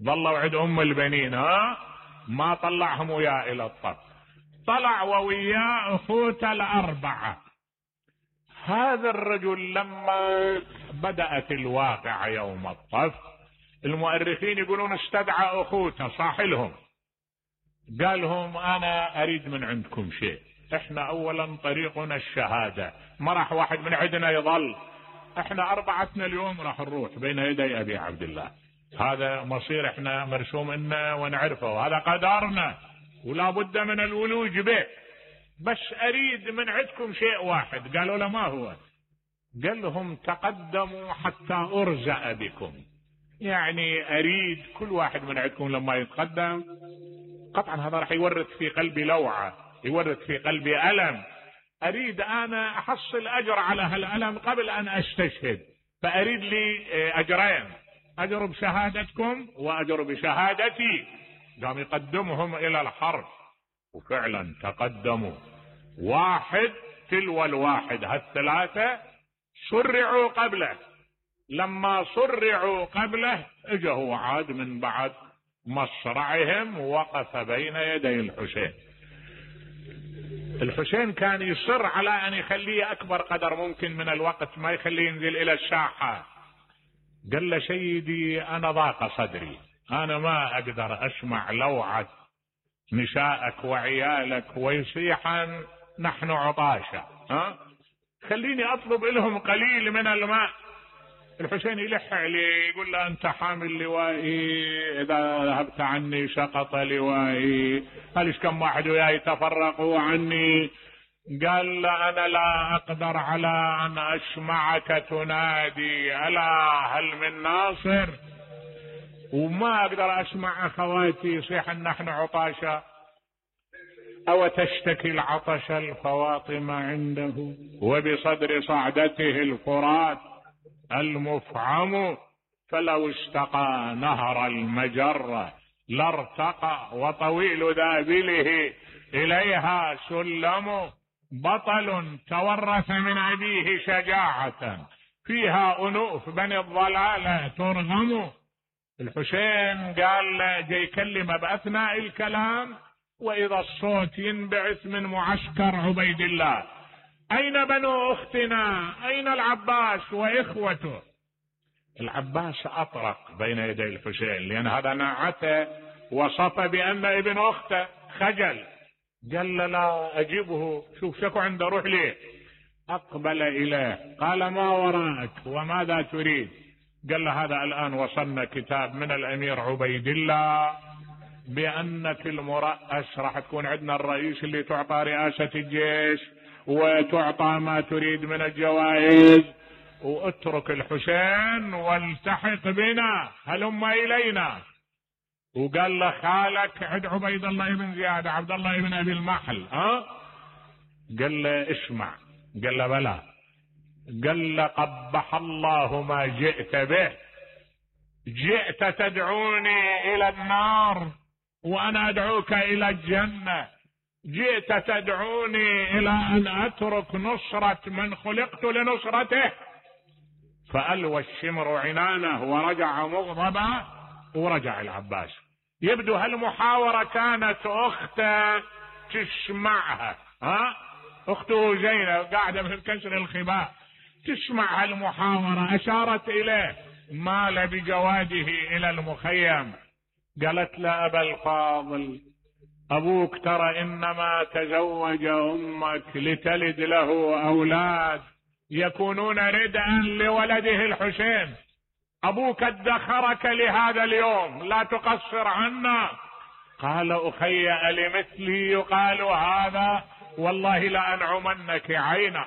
ظلوا عند ام البنين، ما طلعهم وياه الى الطف، طلع ووياه اخوته الاربعة. هذا الرجل لما بدأت الواقعة يوم الطف، المؤرخين يقولون استدعى اخوته صاحلهم، قال لهم انا اريد من عندكم شيء، احنا اولا طريقنا الشهادة، ما راح واحد من عندنا يظل، احنا اربعتنا اليوم راح نروح بين يدي ابي عبد الله، هذا مصير احنا مرسوم لنا ونعرفه، وهذا قدرنا ولا بد من الولوج به، بس اريد من عندكم شيء واحد. قالوا له ما هو؟ قال لهم تقدموا حتى ارزأ بكم، يعني اريد كل واحد من عندكم لما يتقدم، قطعا هذا راح يورث في قلبي لوعة، يورث في قلبي ألم، اريد انا احصل اجر على هالألم قبل ان استشهد، فاريد لي اجرين، اجر بشهادتكم واجر بشهادتي. قام يقدمهم الى الحرب، وفعلا تقدموا واحد تلو الواحد، هالثلاثة سرعوا قبله، لما سرعوا قبله اجوا عاد من بعد مصرعهم ووقف بين يدي الحسين. الحسين كان يصر على ان يخليه اكبر قدر ممكن من الوقت، ما يخليه ينزل الى الساحة. قال له سيدي انا ضاق صدري، انا ما اقدر اسمع لوعة نسائك وعيالك ويصيحا نحن عطاشا، خليني اطلب لهم قليل من الماء. الحسين يلح عليه يقول له انت حامل لوائي، اذا ذهبت عني سقط لوائي، هل كم واحد وياي تفرقوا عني؟ قال له انا لا اقدر على ان اسمعك تنادي الا هل من ناصر، وما اقدر اسمع اخواتي يصيح نحن عطاشا، او تشتكي العطش الفواطم عنده وبصدر صعدته الفرات المفعم، فلو استقى نهر المجرة لارتقى وطويل ذابله اليها سلم، بطل تورث من ابيه شجاعة فيها انوف بني الضلالة ترغم. الحسين قال جاي يكلمه باثناء الكلام، واذا الصوت ينبعث من معسكر عبيد الله، اين بنو اختنا، اين العباس واخوته؟ العباس اطرق بين يدي الحسين لان هذا ناعته، وصف بان ابن اخته، خجل، قال له لا اجيبه، شوف شكو عنده، روح ليه. اقبل اليه قال ما وراءك وماذا تريد؟ قال له هذا الان وصلنا كتاب من الامير عبيد الله بانك المرأس راح تكون عندنا الرئيس اللي تعطى رئاسة الجيش وتعطى ما تريد من الجوائز، واترك الحسين والتحق بنا، هلم الينا. وقال له خالك عند عبيد الله بن زياد عبد الله بن ابي المحل، قال له اسمع، قال له بلى، قال له قبح الله ما جئت به، جئت تدعوني الى النار وانا ادعوك الى الجنة، جئت تدعوني الى ان اترك نصرة من خلقت لنصرته. فألوى الشمر عنانه ورجع مغضبا، ورجع العباس. يبدو هالمحاورة كانت اخته تسمعها، اخته زينب قاعدة في كسر الخباء تسمع هالمحاورة، اشارت اليه، مال بجواده الى المخيم، قالت له ابا الفاضل ابوك ترى انما تزوج امك لتلد له اولاد يكونون ردءا لولده الحسين، ابوك ادخرك لهذا اليوم، لا تقصر عنا. قال اخي لمثلي يقال هذا، والله لانعمنك عينا.